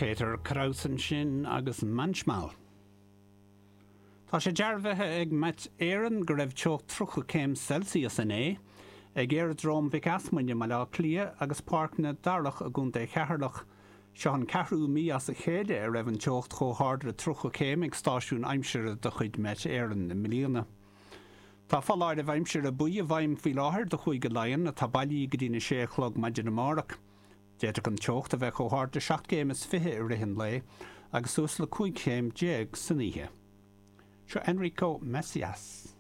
Peter Krause ansin agus Manchmal. Tá sé dearbhaithe ag Met Éireann go raibh teocht 30 céim Celsius inné ag Aeradróm Mhic Easmuinn i mBaile Átha Cliath agus Páirc na Darach i gContae Cheatharlach. Seo an ceathrú mí as a chéile a raibh an teocht chomh hard le 30 céim ag stáisiún aimsire de chuid Met Éireann i mbliana. Tá foláireamh aimsire buí i bhfeidhm faoi láthair do Chúige Laighean atá bailí go dtí'n 6 a chlog maidin amárach. D'fhéadfadh an teocht a bheith chomh hard le 7 gcéim is 20 i rith an lae agus suas le 15 chéim san oíche. Seo Enrico Macias.